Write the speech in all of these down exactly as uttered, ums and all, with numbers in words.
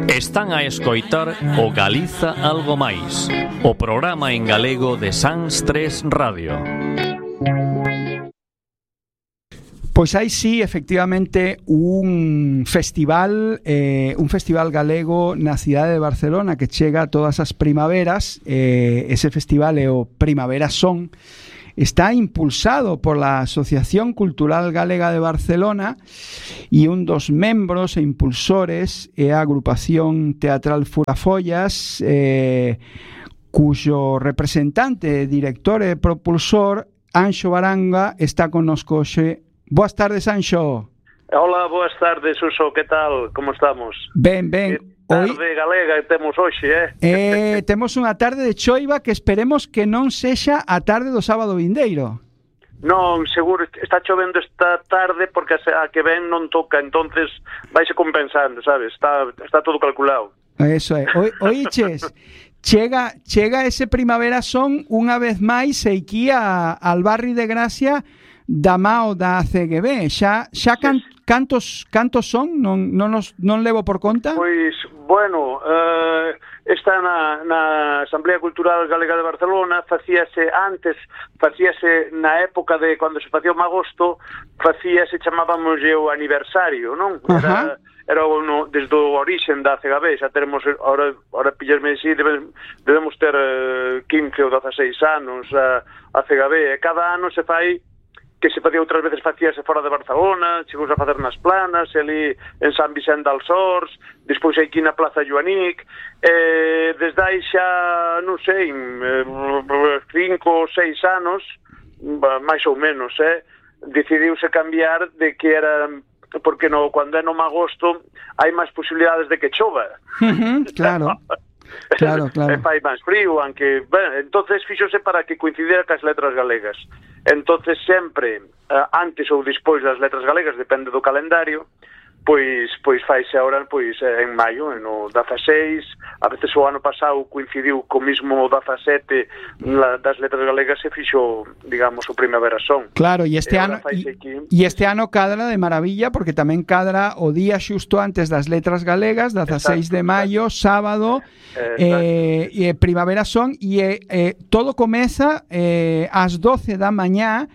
Están a escoitar o Galiza Algo Máis, o programa en galego de Sans tres Radio. Pois hai sí, efectivamente, un festival eh, un festival galego na cidade de Barcelona que chega todas as primaveras. Eh, ese festival é o Primavera Son. Está impulsado por la Asociación Cultural Galega de Barcelona e un dos membros e impulsores é a agrupación teatral Furafollas, eh, cuxo representante, director e propulsor, Anxo Baranga, está connosco hoxe. Boas tardes, Anxo. Hola, boas tardes, Suso, que tal? Como estamos? Ben, ben. Que tarde Hoy... galega temos hoxe, eh? eh? Temos unha tarde de choiva que esperemos que non sexa a tarde do sábado vindeiro. Non, seguro, está chovendo esta tarde porque a que ven non toca, entonces vaise compensando, sabes? Está, está todo calculado. Eso é. Oiches, chega, chega ese Primavera Son unha vez máis aquí a, al barrio de Gracia da mao da C G B. Xa, xa can, cantos cantos son? Non, non, nos, non levo por conta? Pois, bueno, uh, está na, na Asamblea Cultural Galega de Barcelona, facíase antes, facíase na época de cando se facía o magosto, facíase, chamábamos o aniversario, non? Era, era no, desde o orixen da C G B, xa teremos, ahora, ahora pillarme así, debemos, debemos ter uh, quince ou dezaseis anos a, a C G B, e cada ano se fai que se facía outras veces facíase fora de Barcelona, chegou a facer nas Planas, ali en San Vicente dels Horts, despois aquí na Plaza Joanic, eh, desde aí xa, non sei, cinco ou seis anos, máis ou menos, eh, decidiuse cambiar de que era, porque no, cando é no agosto hai máis posibilidades de que chova. Uh-huh, claro. Claro, claro. E fai máis frío, aunque, bueno, entonces fíxose para que coincidira cas letras galegas. Entonces sempre, uh, antes ou despois das letras galegas, depende do calendario, pois pois faise agora pois en maio, no dezaseis, a veces o ano pasado coincidiu co mismo dezasete das letras galegas e fixo, digamos, o Primavera Son. Claro, e este e ano e este ano cadra de maravilla porque tamén cadra o día xusto antes das letras galegas, dezaseis de maio, sábado, eh, e Primavera Son, e eh, todo comeza eh, ás doce da mañá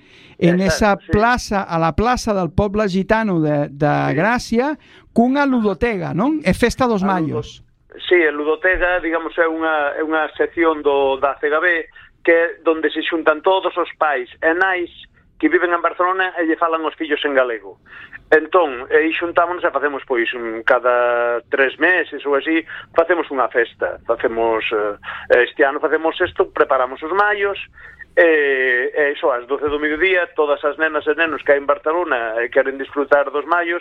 en exacto, esa plaza, sí. A la plaza del poble gitano de, de sí. Gracia, cunha ludotega, non? É festa dos a maios. Ludo... Sí, a ludotega, digamos, é unha, é unha sección do, da C G B que é onde se xuntan todos os pais e nais que viven en Barcelona e lle falan os fillos en galego. Entón, aí xuntámonos e facemos, pois, un, cada tres meses ou así, facemos unha festa. Facemos, eh, este ano facemos isto, preparamos os maios, e, e iso, ás doce do mediodía, todas as nenas e nenos que hai en Barcelona e queren disfrutar dos maios,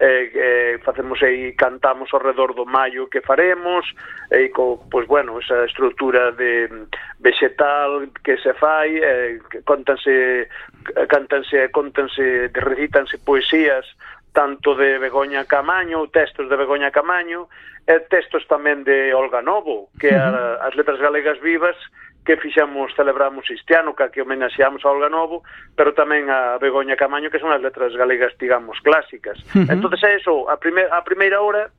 e, e facemos aí, cantamos ao redor do maio que faremos, e co, pois, bueno, esa estrutura de vegetal que se fai, e, contanse, cantanse, contanse, recítanse poesías, tanto de Begoña Camaño, textos de Begoña Camaño, e textos tamén de Olga Novo, que uh-huh. a, as letras galegas vivas, que fixamos, celebramos este ano, que homenaxeamos a Olga Novo, pero tamén a Begoña Camaño, que son as letras galegas, digamos, clásicas. Uh-huh. Entonces é eso, a, primer, a primeira hora,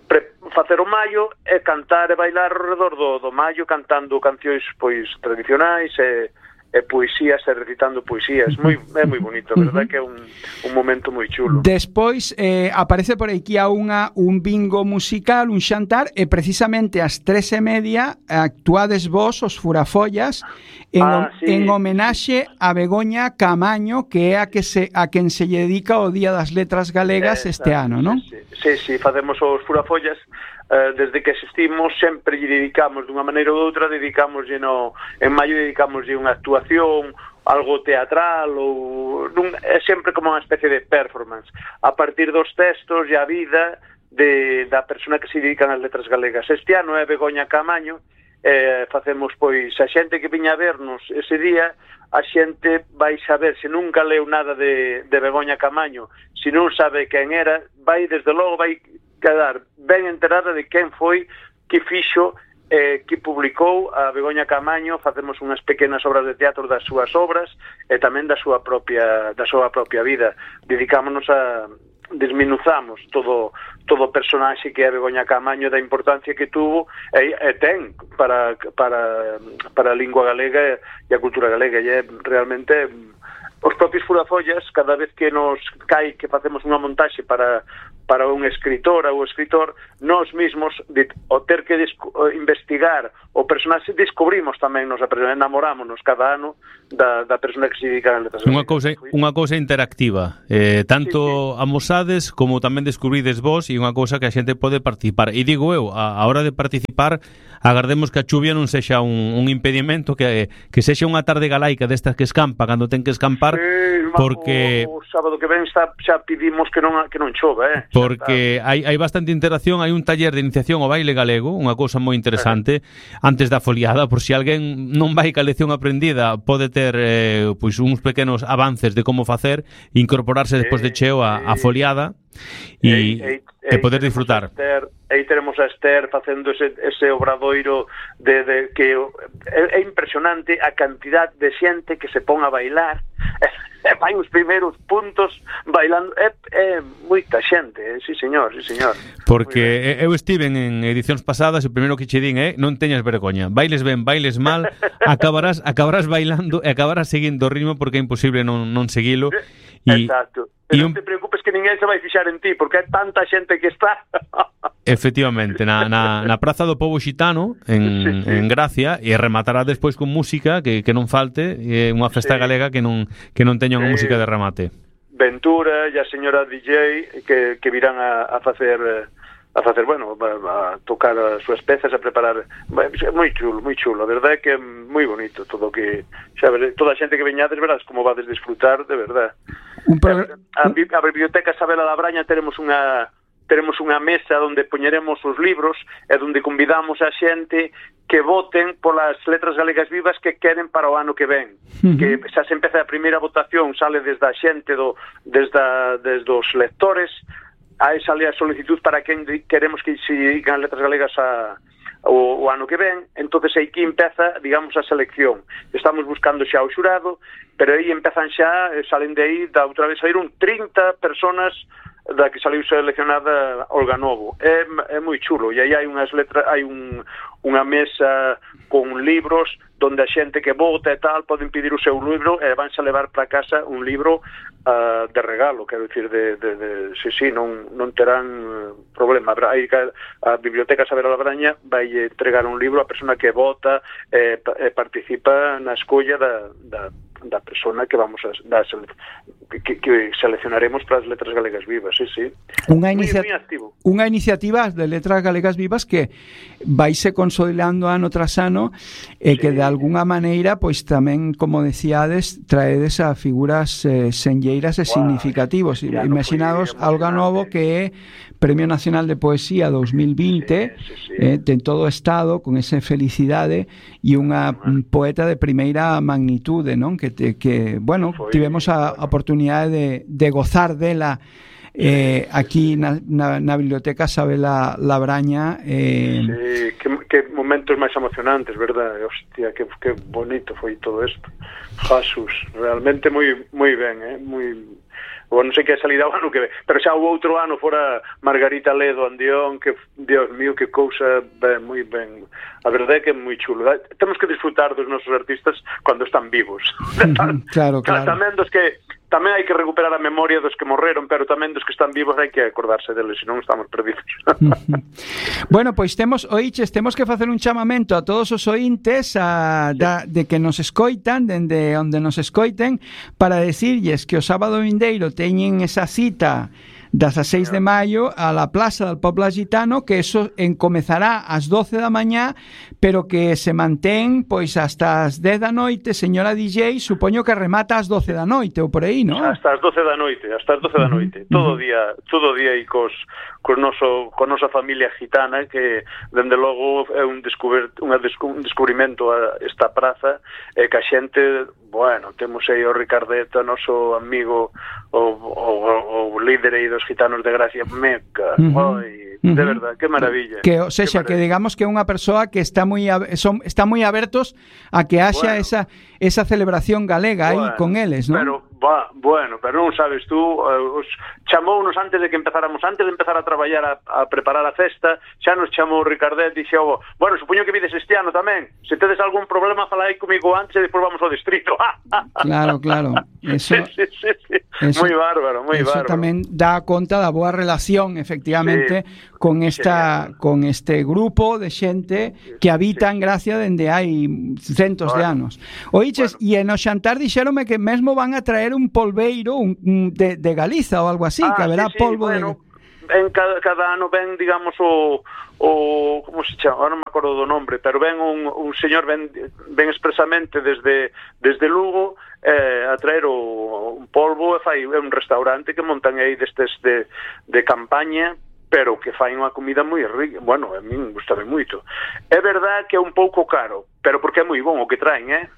pre, facer o maio e cantar e bailar ao redor do, do maio, cantando cancións, pois, tradicionais e, e poesías, e recitando poesías. Moi, é moi bonito, a verdade que é un, un momento moi chulo. Despois eh, aparece por aquí a unha, un bingo musical, un xantar, e precisamente ás tres e media actuades vos, os Furafollas, en, ah, sí. en homenaxe a Begoña Camaño, que é a que se a quen se lle dedica o Día das Letras Galegas eh, este ano, non? Sí, sí, sí, facemos os Furafollas. Uh, desde que existimos sempre lle dedicamos dunha maneira ou doutra, dedicamos no, en maio dedicamos unha actuación, algo teatral ou nun, é sempre como unha especie de performance a partir dos textos e a vida de, da persona que se dedican ás letras galegas. Este ano é Begoña Camaño, eh, facemos pois a xente que viña a vernos ese día, a xente vai saber, se nunca leu nada de, de Begoña Camaño, se non sabe quen era, vai desde logo vai quedar ben enterada de quen foi que fixo, eh, que publicou a Begoña Camaño. Facemos unhas pequenas obras de teatro das súas obras e tamén da súa propia da súa propia vida. Dedicámonos a desminuzamos todo todo o personaxe que é Begoña Caamaño, da importancia que tuvo e, e ten para, para, para a lingua galega e a cultura galega, e é realmente os propios Furafollas, cada vez que nos cai que facemos unha montaxe para para un escritor ou escritor, nós mesmos de, o ter que disco, investigar o personaxe, descubrimos tamén nos enamorámonos cada ano da, da persona que se dedica a letras. Unha cousa, unha cousa interactiva, eh, tanto sí, sí. amosades como tamén descubrides vos, e unha cousa que a xente pode participar. E digo eu, a, a hora de participar, agardemos que a chuvia non sexa un, un impedimento, que, que sexa unha tarde galaica destas que escampa cando ten que escampar, sí, porque o, o sábado que ven xa, xa pedimos que non que non chova, eh. Porque hai, hai bastante interacción, hai un taller de iniciación ao baile galego, unha cousa moi interesante, eh. antes da foliada, por si alguén non vai ca lección aprendida, pode ter eh, pois uns pequenos avances de como facer, incorporarse despois de cheo a, a foliada e, e, e, e poder disfrutar. Aí teremos a Esther facendo ese, ese obradoiro de, de que é, é impresionante a cantidad de xente que se pon a bailar. E vai os primeiros puntos bailando, é, é moita xente, eh? Sí señor, sí señor. Porque eu estive en edicións pasadas e o primeiro que che din é non teñas vergoña, bailes ben, bailes mal, acabarás acabarás bailando e acabarás seguindo o ritmo porque é imposible non, non seguilo. E, exacto, e non un... te preocupes que ninguén se vai fixar en ti porque hai tanta xente que está. Efectivamente, na, na, na Praza do Pobo Xitano en, sí, sí. en Gracia, e rematará despois con música que, que non falte, é unha festa sí. galega que non que non teña unha sí. música de remate. Ventura e a señora D J que, que virán a, a facer a facer, bueno, a, a tocar as súas pezas, a preparar, moi chulo, moi chulo, a verdade é que é moi bonito todo que, xa veres, toda a xente que veñades verás como vades disfrutar, de verdade. Un pro... a, a, a Biblioteca Sabela Labraña teremos unha teremos unha mesa onde poñeremos os libros e onde convidamos a xente que voten polas letras galegas vivas que queren para o ano que ven. Uh-huh. Que xa se empeza a primeira votación, sale desde a xente, do, desde, a, desde os lectores, aí sale a solicitud para quen queremos que se digan letras galegas a, o, o ano que ven, entonces aí que empeza, digamos, a selección. Estamos buscando xa o xurado, pero aí empezan xa, salen de aí, da outra vez saíron trinta personas da que saliu seleccionada Olga Novo. É, é moi chulo, e aí hai unhas letras, hai un, unha mesa con libros donde a xente que vota e tal poden pedir o seu libro e vanse a levar para casa un libro uh, de regalo, quero dicir, de, de, de sí, sí, non, non terán problema. Aí a Biblioteca Sabela Labraña vai entregar un libro a persona que vota e, e participa na escolla da, da da persona que vamos a da, que, que seleccionaremos para as letras galegas vivas, sí, sí. Unha inicia... unha iniciativa de letras galegas vivas que vaise consolidando ano tras ano e sí. que de alguna maneira, pois tamén, como decíades, traedes a figuras eh, senlleiras e wow, significativos. Imaginados a Olga Novo, que é Premio Nacional de Poesía dos mil vinte, sí, sí, sí. Eh, ten todo o estado con esa felicidade e unha uh-huh. poeta de primeira magnitude, non? Que, te, que bueno, Foi, tivemos a bueno. oportunidade de, de gozar dela eh, aquí na, na, na Biblioteca Sabela Labraña. Eh... Sí, que, que momentos máis emocionantes, verdad? Hostia, que, que bonito foi todo isto. Jesús, realmente moi moi ben, eh? Moi... Ou non sei que salida o ano que ve, pero xa o outro ano fora Margarita Ledo Andión, que, Dios mío, que cousa ben, moi ben. A verdade é que é moi chulo. Temos que disfrutar dos nosos artistas cando están vivos. Claro, claro. Tamén dos que tamén hai que recuperar a memoria dos que morreron, pero tamén dos que están vivos hai que acordarse deles, senón estamos perdidos. Bueno, pois temos, oiches, temos que facer un chamamento a todos os ointes a, da, de que nos escoitan, dende onde nos escoiten, para decirlles que o sábado vindeiro teñen esa cita das a seis de maio a la Plaza del Poble Gitano, que eso encomezará ás doce da mañá, pero que se mantén pois hasta as dez da noite. Señora D J, supoño que remata ás doce da noite ou por aí, non? Hasta as doce da noite, hasta as doce da noite. Uh-huh. Todo o día, todo o día aí cos cos noso con nosa familia gitana, que dende logo é un descubrir, unha descu, un descubrimento a esta praza, e que a xente, bueno, temos aí o Ricardeta, noso amigo, o, o, o líder aí dos gitanos de Gracia, meca, uh-huh. Oi, uh-huh. de verdad, que maravilla. Que, o sexa, que digamos que é unha persoa que está moi son está moi abertos a que haxa bueno. esa esa celebración galega bueno, aí con eles, non? Pero Ba, bueno, pero non sabes tú, uh, os chamounos antes de que empezáramos, antes de empezar a traballar a, a preparar a festa, xa nos chamou Ricardet e dixo, bueno, supoño que vides este ano tamén, se tedes algún problema falai comigo antes e depois vamos ao distrito. Claro, claro. Eso, sí, sí, sí. Eso, moi bárbaro, moi eso bárbaro. Tamén dá conta da boa relación, efectivamente, sí, con esta genial. Con este grupo de xente que habita en Gracia dende hai centos bueno, de anos. Oiches, e bueno. En o xantar dixéronme que mesmo van a traer un polveiro un, un de, de Galiza ou algo así, ah, que haberá sí, sí, polvo bueno, de... En cada, cada ano ven, digamos, o, o como se chama, ahora non me acordo do nombre, pero ven un, un señor ven, ven expresamente desde, desde Lugo eh, a traer o, un polvo e fai un restaurante que montan aí destes de, de campaña, pero que fai unha comida moi rica. Bueno, a min gustame moito. É verdad que é un pouco caro, pero porque é moi bon o que traen, eh?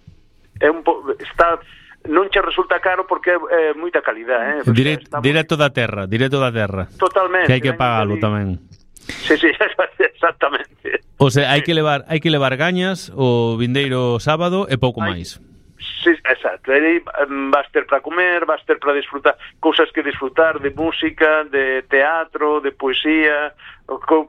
É un po... está... non che resulta caro porque é, é moita calidad, eh? Dire, directo da terra, directo da terra. Totalmente. Que hai que pagalo tamén. Sí, sí, exactamente. O sea, hai que levar, hai que levar gañas o vindeiro sábado e pouco Ay, máis. Sí, exacto. Aí vas ter para comer, vas ter para disfrutar, cousas que disfrutar de música, de teatro, de poesía,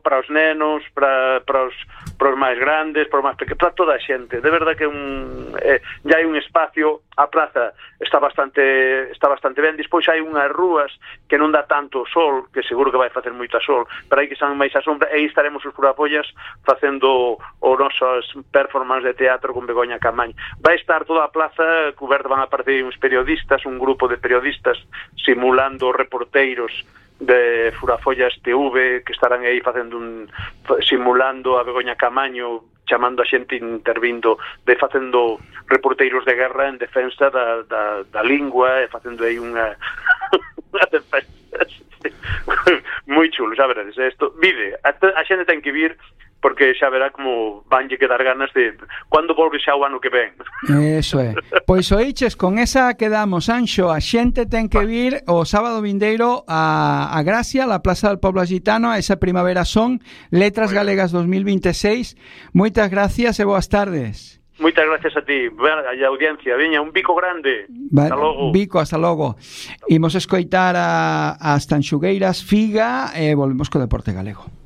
para os nenos, para, para, os, para os máis grandes, para os máis pequenos, para toda a xente. De verdade que un, eh, já hai un espacio, a praza está bastante está bastante ben, despois hai unhas rúas que non dá tanto sol, que seguro que vai facer moita sol, pero hai que están máis a sombra, e aí estaremos os Purapollas facendo os nosos performance de teatro con Begoña Camaño. Vai estar toda a plaza coberta, van a aparecer uns periodistas, un grupo de periodistas simulando reporteiros de Furafollas T V que estarán aí facendo un simulando a Begoña Camaño, chamando a xente intervindo, de facendo reporteiros de guerra en defensa da, da, da lingua e facendo aí unha unha defensa moi chulo, xa veredes, isto vive, a, a xente ten que vir porque xa verá como vanlle quedar ganas de cando volve xa o ano que ven. Eso é. Pois oiches, con esa quedamos, Anxo, a xente ten que vir o sábado vindeiro a, a Gracia, a Plaza del Pueblo Gitano, a esa Primavera Son, Letras bueno. Galegas dos mil vinte e seis. Moitas gracias e boas tardes. Moitas gracias a ti, a audiencia. Veña, un bico grande. Vale, hasta logo. Bico, hasta logo. Imos escoitar a, as Tanxugueiras Figa e volvemos co Deporte Galego.